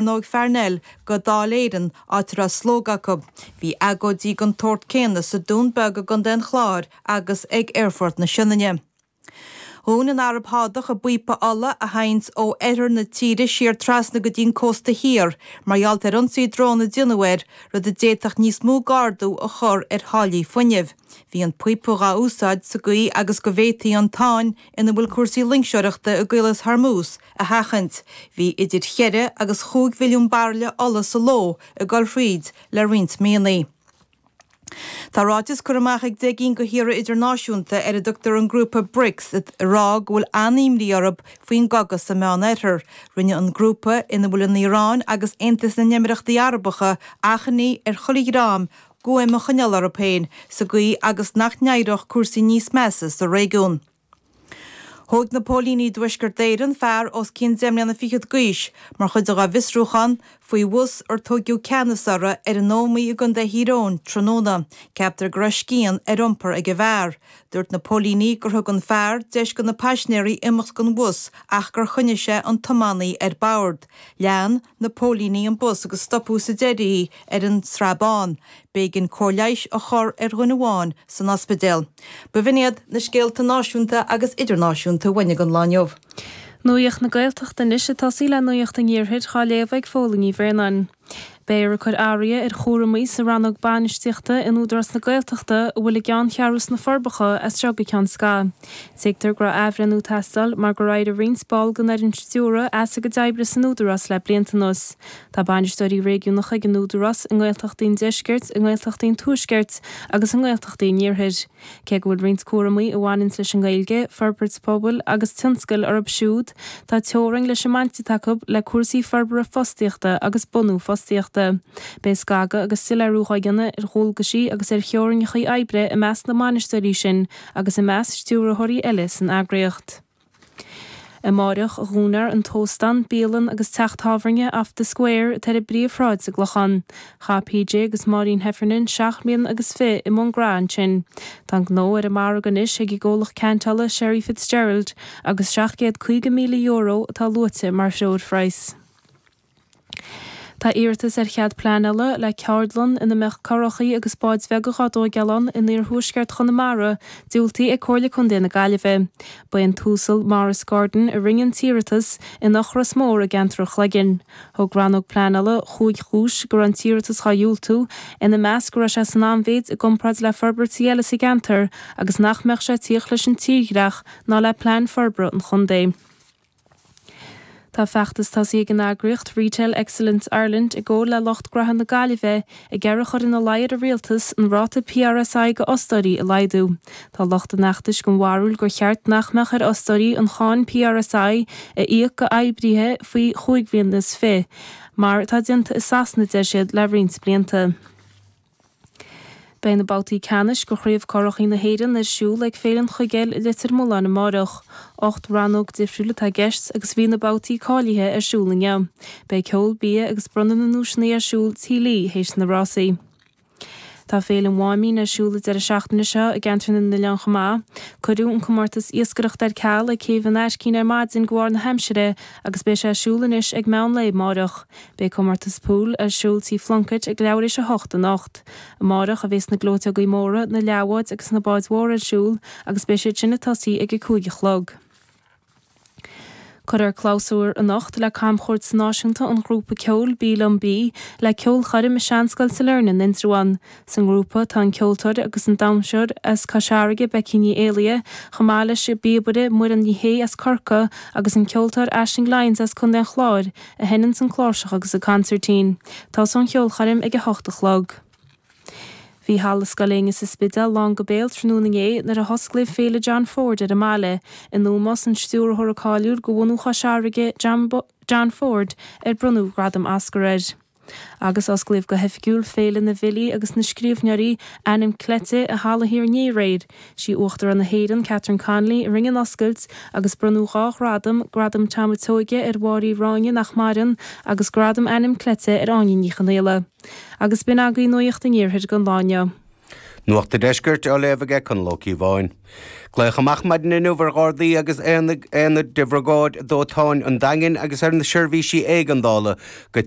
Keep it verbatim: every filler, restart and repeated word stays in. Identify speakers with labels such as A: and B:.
A: Cearnóg Pharnell go Dáil Éireann, áit a raibh slógadh acu. Bhí agóidí den tsórt céanna sa Dún Beag i gContae an Chláir agus ag Aerfort na Sionainne. Dhún an Araib Shádach a bpíopa ola a théanns ó oirthear na tíre siar trasna go dtí an cósta thiar mar gheall ar ionsaí drón a déanadh air, rud a d'fhéadfadh níos mó d'ardú a chur ar tháillí fuinnimh. Bhí an píopa dhá úsáid sa gcaoi agus go bhféadfaí an tsáinn ina bhfuil cúrsaí loingseoireachta i gCaolas Hormuz a sheachaint. Bhí idir cheithre agus chúig mhilliún bairille ola sa ló ag dul thríd le roinnt míonna. Tá ráiteas curtha amach ag deich gcinn de thíortha idirnáisiúnta ar a dtugtar an grúpa BRICS ag rá go bhfuil an-imní orthu faoin gcogadh sa Meánoirthear. Rinne an grúpa, ina bhfuil an Iaráin agus Aontas na nÉimireachtaí Arabacha, achainí ar chuile dhream guaim a choinneáil orthu féin sa gcaoi agus nach n-éireodh cúrsaí níos measa sa réigiún. Thóg na póilíní i dTuaisceart Éireann fear os cionn deich mbliana fichead d'aois mar chuid dá bhfiosrúchán faoi bhus ar tóigeadh ceannas orthu ar an Ómaigh i gContae Thír Eoghain tráthnóna. Ceaptar go raibh scian ar iompar ag an bhfear. Dúirt na póilíní gur thug an fear deis do na paisinéirí imeacht den bhus ach gur choinnigh sé an tiománaí ar bord. Lean na póilíní an bus agus stopadh sa deireadh ar an Srath Bán. B'éigean cóir leighis a chur ar dhuine amháin san ospidéal. B'in iad na scéalta náisiúnta agus idirnáisiúnta uainn don lá inniu.
B: Nuacht na Gaeltachta anois ag tosaí le Nuacht an Iarthair á léamh ag Fódhla Ní Bhraonáin. Beifear ag cur athruithe ar chúramaí sa rannóg bainistíochta in Údarás na Gaeltachta a bhfuil a gceanncheathrú sna Forbacha as seo go ceann scaitheamh. Tuigtear go raibh athbhreithniú ag teastáil mar gur éirigh roinnt ball den fhoireann stiúrtha as a gcuid oibre san Údarás le blianta anuas. Tá bainisteoirí réigiúnacha ag an Údarás i nGaeltachtaí an Deiscirt, i nGaeltachtaí an Tuaiscirt agus i nGaeltachtaí an Iarthair. Cé go bhfuil roinnt cúramaí a bhaineann leis an nGaeilge, forbairt pobail agus tionscail orthu siúd, tá teorainn leis an mbaint atá acu le cúrsaí forbartha fostaíochta agus bunú fostaíochta. Beidh scagadh agus soiléiriú á dhéanamh ar dhualgaisí agus ar theorainneacha oibre i measc na mbainisteoirí sin agus i measc stiúrthóirí eile san eagraíocht. Amárach a dhúnfar an t-óstán, bialann agus teach tábhairne Off the Square atá ar an bpríomhshráid sa gClochán. Chaith PJ agus Maureen Heffernan seacht mbliana agus fiche i mbun gnó ansin. Tá an gnó ar an margadh anois ag an gcomhlacht ceantála Sherry Fitzgerald agus seacht gcéad caoga míle euro atá luaite mar threoirphraghas. Tá iarratas ar chead pleanála le ceardlann ina mbeadh curachaí agus báid bheaga á dtógáil ann in iarthuaisceart Chonamara diúltaithe ag Comhairle Contae na Gaillimhe. Ba é an tUasal Maurice Gordon a rinne an t-iarratas in Eochras Mór i gceantar an Chloiginn. Thug rannóg pleanála chúig chúis go raibh an t-iarratas á dhiúltú, ina measc go raibh sé san an-mhéid i gcomparáid le forbairtí eile sa gceantar agus nach mbeadh sé ag tíocht leis an tírdhreach ná le plean forbartha an chontae. Tá feachtas tosaithe ag an eagraíocht Retail Excellence Ireland i gcomhar le lucht gnótha na Gaillimhe ag iarraidh a chur ina luí ar an rialtas an ráta PRSI go fhostóirí a laghdú. Tá lucht an fheachtais den bharúil gur cheart nach mbeadh ar fhostóirí an cháin PRSI a íoc go oibrithe faoi chúig bhliana is fiche, mar atá déanta i Sasana deir siad le roinnt blianta. Beidh na babhtaí ceannais go Chraobh Curachaí na hÉireann ar siúl ag Féile an Chuigéil i Leitir Mealláin amárach. Ocht rannóg difriúil atá i gceist agus bhí na babhtaí cáilithe ar siúl inniu. Beidh ceol, bia agus bronnadh na nduaiseanna ar siúl tí Lee théis na rásaí. Tá Féile an Mháimín ar siúl an deireadh seachtaine seo i gceantar na nOileán chomh maith. Cuireadh an comórtas iascaireachta ar ceal ag Céibh an Aiscín ar maidin de bharr na haimsire agus beidh sé ar siúl anois ag meán lae amárach. Beidh comórtas pool ar siúl tí Plunkett ag leathuair tar éis a hocht anocht. Amárach a bheas na gleoiteogaí móra, na leathbháid agus na báid mhóra ar siúl agus beidh siad sin ag tosaí ag a cúig a chlog. Cuirfear clabhsúr anocht le camchuairt náisiúnta an ghrúpa ceoil Bí Liom Bí le ceolchoirm i Seanscoil Sailearna in Indreabhán. San ngrúpa tá an ceoltóir agus an damhsóir as Cois Fharraige Becky Ní Éalaithe, chomh maith leis an bpíobaire Muireann Ní Shé as Corcaigh agus an ceoltóir Aisling Lyons as Contae an Chláir, a sheinneann an cláirseach agus an consairtín. Tosóidh an cheolchoirm ag a hocht a chlog. Bhí halla Scoil Aonghus sa Spidéal lán go béal tráthnóna inné nuair a hosclaíodh Féile John Ford ar an mbaile, in ómós an stiúrthóra cáiliúil go bhunú Chois Fharraige John, John Ford ar bronnadh gradam Oscar air. Agus osclaíodh go hoifigiúil Féile na bhFilí agus na Scríbhneoirí ainm cleite i Halla Thiar Ní aréir. Sí Uachtarán na hÉireann Catherine Connolly a rinne an oscailt agus bronnadh dhá ghradam, gradam Tom Seoige ar Mháire Uí Ráinne nach maireann agus gradam ainm cleite ar Áine Ní Chonaola. Agus b'in agaibh nuacht an iarthair don lá inniu.
C: Nuacht an Deiscirt á léamh aige Conall Ó Cíobháin. Glaodh amach maidin inniu ar Ghardaí agus aonaid de Bhriogáid Dóiteáin an Daingin agus ar na seirbhísí éigeandála go